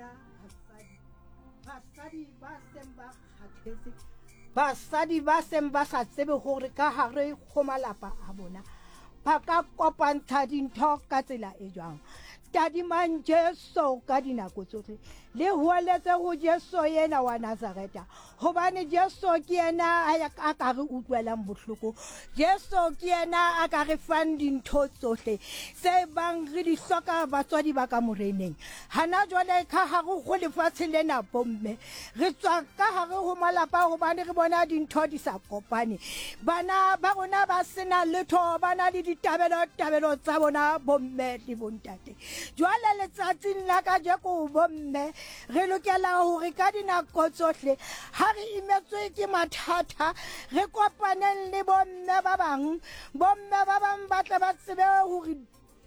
Rona basadi, basadi ba seng ba kgathetse, basadi ba seng ba sa tsebe gore ka gare go malapa a bona ba ka kopantsha dintho ka tsela e jwang. Tadimang Jesu ka dinako tsohle, le hoeletse go Jesu yena wa Nazareta, gobane Jesu ke yena a ka re utlwelang bohloko. Jesu ke yena a ka re fang dintho tsohle tse bang re di hloka, batswadi ba ka moreneng. Hana jwale ka gare go lefatshe lena, bomme, re tswa ka gare go malapa gobane re bona dintho di sa kopane. Bana ba rona ba sena letho, ba na le ditabelo-tabelo tsa bona, bomme le bontate. Jwale letsatsing la kajeko, bomme, Re lokela hore ka dinako tsohle ha re imetswe ke mathata re kopaneng le bomme ba bang. Bomme ba bang ba tle ba tsebe hore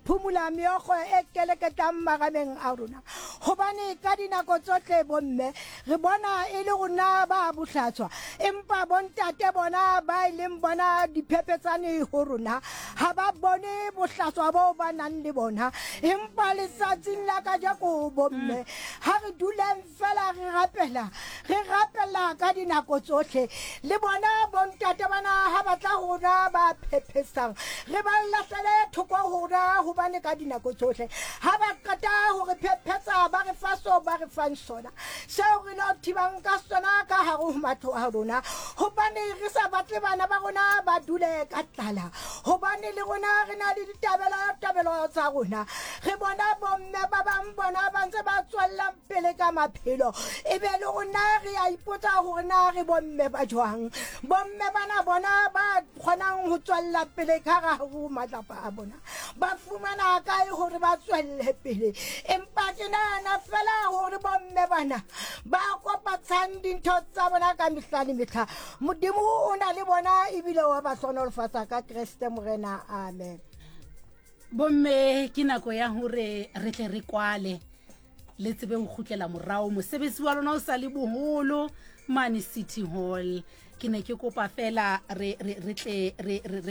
phumula meokgo e keleketlang marameng a rona, hobane ka dinako tsohle bomme re bona e le rona ba bohlatswa, empa bontate bona ba e leng bona diphephetsane ho rona ha ba bone bohlaswa boo ba nang le bona. Empa letsatsing la kajeko, bomme, ha re duleng fela re rapela, re rapela ka dinako tsohle. Le bona bontate bana ha ba tla ho rona ba phephesang, re ba lahlele thoko ho rona, hobane ka dinako tsohle ha ba qeta ho re phephetsa ba re fa seo ba re fang sona, seo re lo thibang ka sona ka hare ho matlo a rona, hobane re sa batle bana ba rona ba dule ka tlala, hobane le rona re na le ditabelo tabelo tsa rona. Re bona bomme ba bang bona ba ntse ba tswellang pele ka maphelo, e be le rona re a ipotsa hore na re bomme ba jwang. Bomme bana bona ba kgonang ho tswella pele ka hare ho matlapa a bona ba fumana kae hore ba tswelle pele? Empa ke nahana fela hore bomme bana ba kopatshang dintho tsa bona ka mehla le mehla, Modimo o na le bona ebile wa ba hlohonolofatsa ka Kreste Morena. Amen. Bomme, ke nako ya hore re tle re kwale, le tsebe ho kgutlela morao. Mosebetsi wa lona o sa le boholo mane City Hall. Ke ne ke kopa fela re tle re